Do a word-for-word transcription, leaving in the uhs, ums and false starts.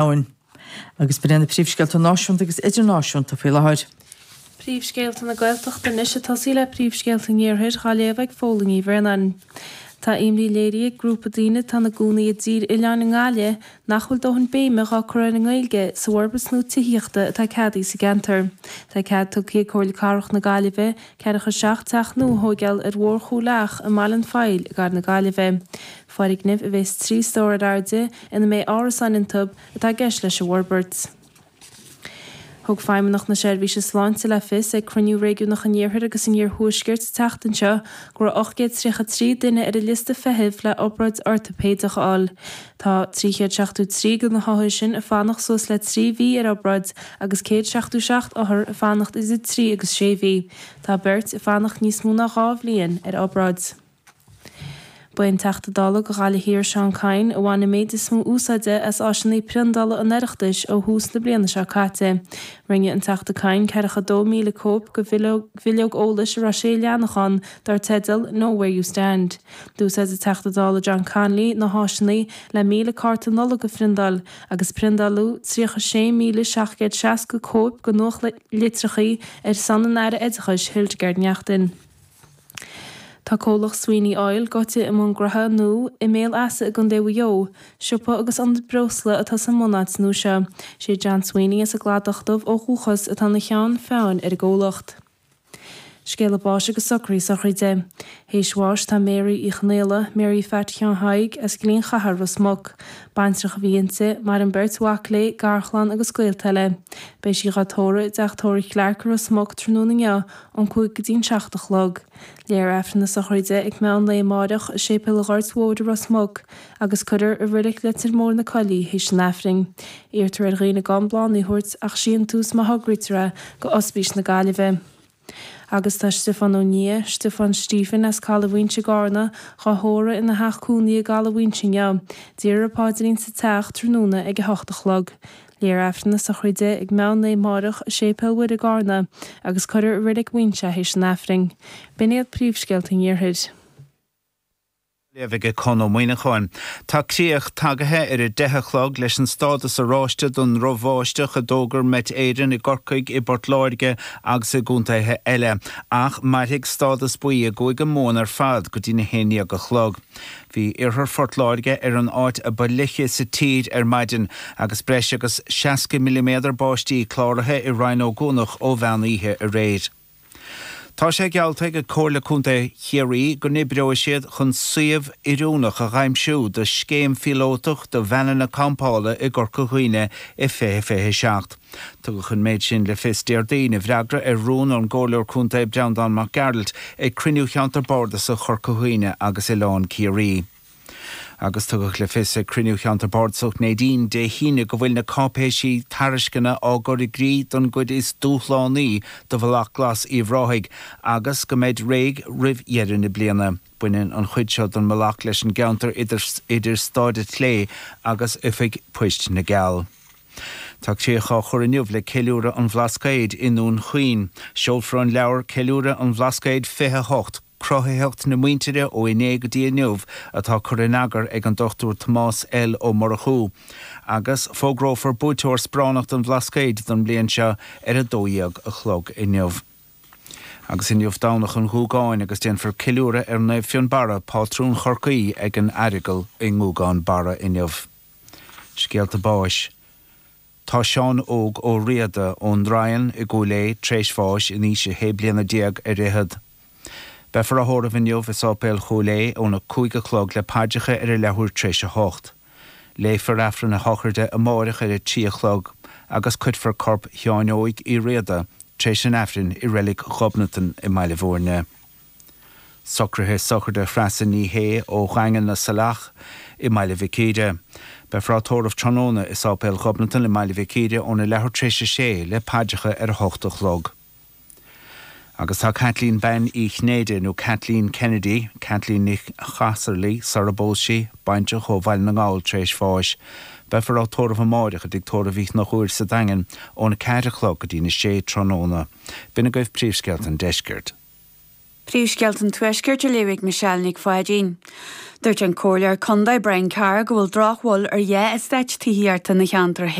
domhain. Agus b'in na príomhscéalta náisiúnta agus idirnáisiúnta faoi láthair. Príomhscéalta na Gaeltachta anois ag tosaí le príomhscéalta an Iarthair á léamh ag Fódhla Ní Bhraonáin. Tá imní léirithe ag grúpa daoine atá ina gcónaí i dTír Oileáin i nGaillimh nach bhfuil dóthain béime á cur ar an nGaeilge sa bhforbairt nua tithíochta atá ceadaithe sa gceantar. Tá cead tugtha ag Comhairle Cathrach na Gaillimhe ceathracha seacht teach nua a thógáil ar Bhóthar Chúil Each i mBaile an Phoill i gCathair na Gaillimhe. Foirgnimh a bheas trí stór ar airde ina mbeidh árasáin iontu atá i gceist leis an bhforbairt. Thug Feidhmeannacht na Seirbhíse Sláinte le fios ag cruinniú réigiúnach an Iarthair agus an Iarthuaiscirt an tseachtain seo go raibh ocht gcéad tríocha trí duine ar an liosta feithimh le obráid ortaipéideach a fháil. Tá trí chéad seachtó trí de na hothair sin ag fanacht suas le trí mhí ar obráid agus céad seachtó seacht othar ag fanacht idir trí agus sé mhí. Tá beirt ag fanacht níos mó ná dhá bhliain ar obráid. Ba é an Teachta Dála do Ghaillimh Thiar Seán Kyne a bhain an méid is mó úsáide as áiseanna priondála an Oireachtais ó thús na bliana seo caite. Rinne an Teachta Kyne ceathracha dó míle cóip de bhileog eolais a raibh sé leathanach ann dar teideal Know Where You Stand. D'úsáid an Teachta Dála John Connolly na háiseanna le míle cárta Nollag a phriondáil agus priondáladh tríocha sé míle seacht gcéad seasca cóip de nuachtlitreacha ar son an Aire Oideachais Hildegarde Naughton. Tá comhlacht Sweeney Oil gaibhte i mbun gnótha nua i mBéal Easa i gContae Mhaigh Eo, siopa agus ionad breosla atá sa mbunáit nua seo. Sé John Sweeney as an gCladach Dubh ó dhúchas atá ina cheann feadhain ar an gcomhlacht. Scéala báis agus socruithe sochraide. Théis bháis tá Mary Uí Chonghaile, Mary Phat Sheáin Thaidhg as Gleann Chathair Ros Muc. Baintreach a bhí inti, maireann beirt mhac léi, garchlann agus gaolta eile. Beidh sí á tórramh i dteach tórraimh Clarke i Ros Muc tráthnóna inniu ón cúig go dtí an seacht a chlog. Léifear Aifreann na sochraide ag meán lae amárach i Séipéal an Ghoirt Mhóir i Ros Muc agus cuirfear i Reilig Leitir Móir na Coillí théis an Aifrinn. Iarrtar ar dhaoine gan bláthanna a thabhairt ach síntiús má thograítear é go Ospís na Gaillimhe. Agus tá Stiofán Ó Nia, Stiofán Stephen as Caladh Mhaínse i gCarna, á thórramh ina theach cónaí i gCaladh Mhaínse inniu. Déarfar paidrín sa teach tráthnóna ag a hocht a chlog. Léifear Aifreann na sochraide ag meán lae amárach i Séipéal Mhuire i gCarna agus cuirfear i Reilig Mhaínse théis an Aifrinn. B'in iad príomhscéalta an Iarthair. Léamh ag Conn Ó Muíneacháin. Tá críoch tagaithe ar a deich a chlog leis an stádas oráiste don drochbháisteach a d'fhógair Met Éireann i gCorcaigh, i bPort Láirge agus i gcontaetha eile, ach mairfidh stádas buí i gCúige Mumhan ar fad go dtí na haon déag a chlog. Bhí iarthar Phort Láirge ar an áit a ba fhliche sa tír ar maidin agus breis agus seasca milliméadar báistí cláraithe i Rinn Ó gCuanach ó mheán oíche aréir. Tá sé geallta ag Comhairle Contae Chiarraí go n-oibreoidh siad chun suíomh oiriúnach a aimsiú do scéim phíolótach do veaineanna campála i gCorca Dhuibhne i fiche fiche seacht. Tugadh an méid sin le fios Déardaoin i bhfreagra ar rún ón gComhairleoir Contae Breandán Mac Gearailt ag cruinniú Cheantar Bardasach Chorca Dhuibhne agus Oileán Ciarraí. Agus tugadh le fios ag cruinniú Cheantar Bardasach Neidín Dé hAoine go bhfuil na cáipéisí tairisceana á gcur i gcrích don gcuid is dúshlánaí de Bhealach Glas Uíbh Ráthaigh agus go mbeidh réidh roimh dheireadh na bliana. Baineann an chuid seo den mbealach leis an gceantar idir idir Staid an tSlé agus Oifig Poist na gCeall. Tá críoch á chur inniu le ceiliúradh an Bhlascaoid i nDún Chaoin. Seolfar an leabhar Ceiliúradh an Bhlascaoid fiche hocht, Cruthaitheacht na muintire ó inné go dtí inniu atá curtha in eagar ag an Dochtúir Tomás L. Ó Murchú. Agus fógrófar buaiteoir sparánacht an Bhlascaoid don bhliain seo ar a dó dhéag a chlog inniu. Agus inniu Domhnach an Ghúgáin agus déanfar ceiliúradh ar Naomh Fionnbarra, pátrún Chorcaí ag an Aireagal i nGúgán Barra inniu. Scéalta báis. Tá Seán Óg Ó Riada ón nDraighean i gCúil Aodha tar éis bháis in aois a shé bliana déag ar fhichead. Beifear á thórramh inniu i Sáipéal Chúil Aodha óna cúig a chlog le paidreacha ar a leathuair tar éis a hocht. Léifear Aifreann a shochraide amárach ar a trí a chlog agus cuirfear corp Sheáin Óig Uí Riada tar éis an Aifrinn i Reilig Ghobnatan i mBaile Bhúirne. Socruithe sochraide Threasa Ní Shé ó Dhaingean na Saileach i mBaile Mhic Íre. Beifear á tórramh tráthnóna i Sáipéal Ghobnatan i mBaile Mhic Íre óna leathuair tar éis a sé le paidreacha ar a hocht a chlog. Agus tá Kathleen Bean Uí Chinnéide nó Kathleen Kennedy, Kathleen Ní Chasarlaí sara bpós sí, baintreach ó Bhaile na nGall tar éis bháis. Beifear á tórramh amárach i dtigh tórraimh Uí Chonchúir sa Daingean óna ceathair a chlog go dtí na sé tráthnóna. B'in agaibh príomhscéalta an deiscirt. Príomhscéalta an Tuaiscirt á léamh ag Michelle Nic Pháidín. Dúirt an Comhairleoir Contae Brian Carr go bhfuil drochbhail ar dhá eastát tithíochta ina cheantar